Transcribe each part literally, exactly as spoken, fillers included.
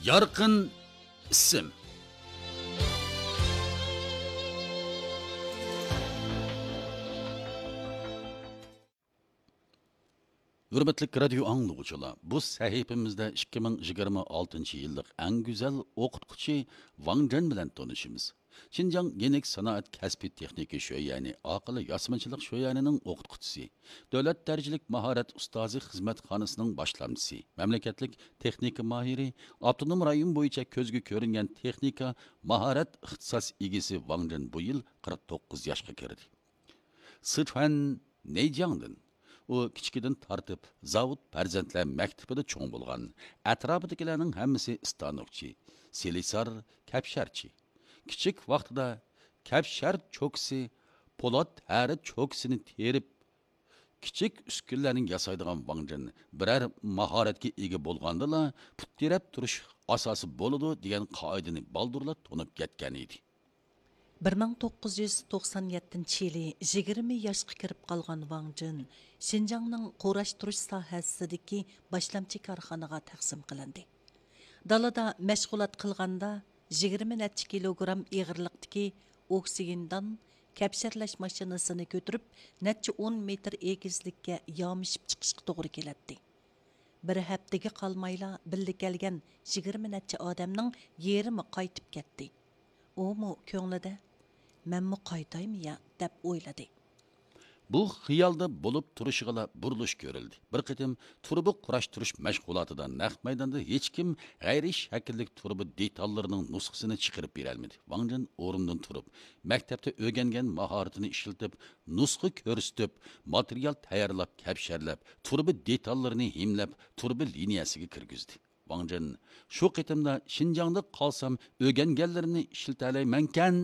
يارقىن ئىسىم. ھۆرمەتلىك رادىيو ئاڭلىغۇچىلار، بۇ سەھىپىمىزدە ئىككى مىڭ يىگىرمە ئالتىنچى يىللىق ئەڭ گۈزەل ئوقۇتقۇچى ۋاڭ جېن بىلەن تونۇشىمىز. شىنجاڭ يېنىك سانائەت كەسپىي تېخنىكا شۆيەنى، ئاقىل ياسىمىچىلىق شۆيەنىنىڭ ئوقۇتقۇچىسى، دۆلەت دەرىجىلىك ماھارەت ئۇستازى خىزمەتخانىسىنىڭ باشلامچىسى، مەملىكەتلىك تېخنىكا ماھىرى، ئاپتونوم رايون بويىچە كۆزگە كۆرۈنگەن تېخنىكا ماھارەت ئىختىساس ئىگىسى ۋاڭ جېن بۇ يىل قىرىق توققۇز ياشقا كىردى. سىچۈەن نەيجياڭدىن. ئۇ كىچىكىدىن تارتىپ زاۋۇت پەرزەنتلەر مەكتىپىدە چوڭ بولغان. ئەتراپىدىكىلەرنىڭ ھەممىسى ئىستانوكچى، سېلىسار، كەپشەرچى. كىچىك ۋاقتىدا كەپشەر چوكىسى، پولات ھەرە چوكىسىنى تېرىپ، كىچىك ئۈسكۈنىلەرنى ياسايدىغان ۋاڭ جېن بىرەر ماھارەتكە ئىگە بولغاندىلا، پۇت تىرەپ تۇرۇش ئاساسى بولىدۇ دېگەن قائىدىنى بالدۇرلا تونۇپ يەتكەن ئىدى. بىر مىڭ توققۇز يۈز توقسان يەتتىنچى يىلى يىگىرمە ياشقا كىرىپ قالغان ۋاڭ جېن شىنجاڭنىڭ قۇراشتۇرۇش ساھەسىدىكى باشلامچى كارخانىغا تەقسىم قىلىندى. دالادا مەشغۇلات قىلغاندا، يىگىرمە نەچچە كىلوگرام ئېغىرلىقتىكى ئوكسىگېندان كەپشەرلەش ماشىنىسىنى كۆتۈرۈپ، نەچچە ئون مېتىر ئېگىزلىككە يامىشىپ چىقىشقا توغرا كېلەتتى. بىر ھەپتىگە قالمايلا بىللە كەلگەن يىگىرمە نەچچە ئادەمنىڭ يېرىمى قايتىپ كەتتى. ئۇمۇ كۆڭلىدە، «مەنمۇ قايتايمۇ يا؟» دەپ ئويلىدى. بۇ خىيالدا بولۇپ تۇرۇشىغىلا بۇرۇلۇش كۆرۈلدى. بىر قېتىم تۇرۇبا قۇراشتۇرۇش مەشغۇلاتىدا نەق مەيداندا ھېچكىم غەيرىي شەكىللىك تۇرۇبا دېتاللىرىنىڭ نۇسخىسىنى چىقىرىپ بېرەلمىدى. ۋاڭ جېن ئورنىدىن تۇرۇپ، مەكتەپتە ئۆگەنگەن ماھارىتىنى ئىشلىتىپ، نۇسخا كۆرسىتىپ، ماتېرىيال تەييارلاپ، كەپشەرلەپ، تۇرۇبا دېتاللىرىنى ھىملەپ، تۇرۇبا لىنىيەسىگە كىرگۈزدى. ۋاڭ جېن، شۇ قېتىمدا شىنجاڭدا قالسام ئۆگەنگەنلىرىمنى ئىشلىتەلەيمەنكەن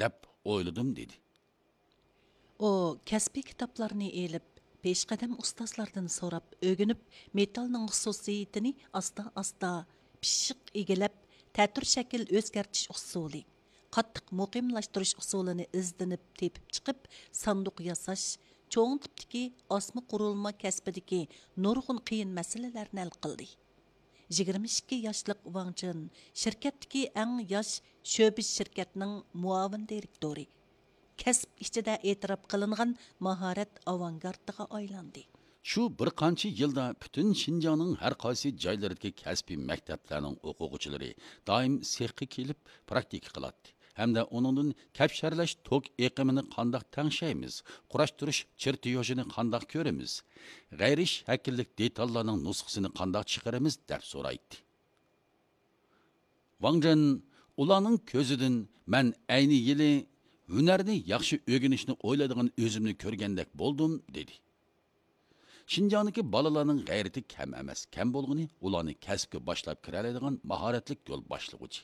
دەپ ئويلىدىم، دېدى. ئۇ كەسپىي كىتابلارنى ئېلىپ، پېشقەدەم ئۇستازلاردىن سوراپ ئۆگىنىپ، مېتالنىڭ خۇسۇسىيىتىنى ئاستا-ئاستا پىششىق ئىگىلەپ، تەتۈر شەكىل ئۆزگەرتىش ئۇسۇلى، قاتتىق مۇقىملاشتۇرۇش ئۇسۇلىنى ئىزدىنىپ تېپىپ چىقىپ، ساندۇق ياساش، چوڭ تىپتىكى ئاسما قۇرۇلما كەسپىدىكى نۇرغۇن قىيىن مەسىلىلەرنى ھەل قىلدى. يىگىرمە ئىككى ياشلىق ۋاڭ جېن شىركەتتىكى ئەڭ ياش شۆبە شىركەتنىڭ مۇئاۋىن دىرېكتورى، كەسىپ ئىچىدە ئېتىراپ قىلىنغان ماھارەت ئاۋانگارتىغا ئايلاندى. شۇ بىر قانچە يىلدا پۈتۈن شىنجاڭنىڭ ھەر قايسى جايلىرىدىكى كەسپىي مەكتەپلەرنىڭ ئوقۇغۇچىلىرى دائىم سېخقا كېلىپ پراكتىكا قىلاتتى ھەمدە ئۇنىڭدىن كەپشەرلەش توك ئېقىمىنى قانداق تەڭشەيمىز، قۇراشتۇرۇش چېرتيوژىنى قانداق كۆرىمىز، غەيرىي شەكىللىك دېتاللارنىڭ نۇسخىسىنى قانداق چىقىرىمىز دەپ سورايتتى. ۋاڭ جېن ئۇلارنىڭ كۆزىدىن مەن ئەينى يىلى ھۈنەرنى ياخشى ئۆگىنىشنى ئويلايدىغان ئۆزۈمنى كۆرگەندەك بولدۇم، دېدى. شىنجاڭدىكى بالىلارنىڭ غەيرىتى كەم ئەمەس، كەم بولغىنى ئۇلارنى كەسىپكە باشلاپ كىرەلەيدىغان ماھارەتلىك يول باشلىغۇچى.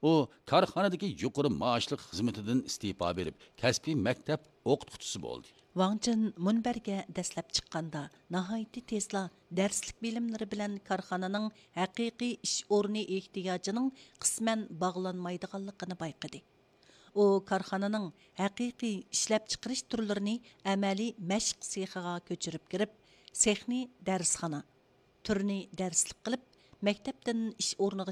ئۇ كارخانىدىكى يۇقىرى مائاشلىق خىزمىتىدىن ئىستېپا بېرىپ، كەسپىي مەكتەپ ئوقۇتقۇچىسى بولدى. ۋاڭ جېن مۇنبەرگە دەسلەپ چىققاندا، ناھايىتى تېزلا دەرسلىك بىلىملىرى بىلەن كارخانىنىڭ ھەقىقىي ئىش ئورنى ئېھتىياجىنىڭ قىسمەن باغلانمايدىغانلىقىنى بايقىدى. ئۇ كارخانىنىڭ ھەقىقىي ئىشلەپچىقىرىش تۈرلىرىنى ئەمەلىي مەشىق سېخىغا كۆچۈرۈپ كىرىپ، سېخنى دەرسخانا، تۈرنى دەرسلىك قىلىپ، مەكتەپتىن ئىش ئورنىغا